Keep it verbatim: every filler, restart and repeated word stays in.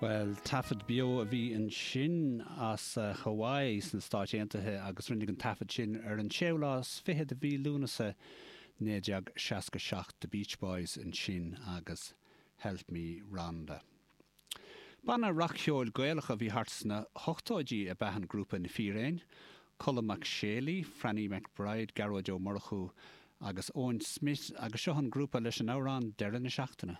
Well, taifead beo a bhí ansin as Hawaii sna Stáit Aontaithe agus rinneadh an taifead sin ar an séú lá is fiche de mhí Lúnasa naoi déag seasca seacht The Beach Boys ansin agus Help Me Rhonda. Banna rac-cheoil Gaelach a bhí thart sna hochtóidí ab ea an grúpa Na Fíréin, Colm Mac Séalaigh, Franny McBride, Gearóid Ó Murchú agus Owen Smith agus seo an grúpa leis an amhrán Deireadh na Seachtaine.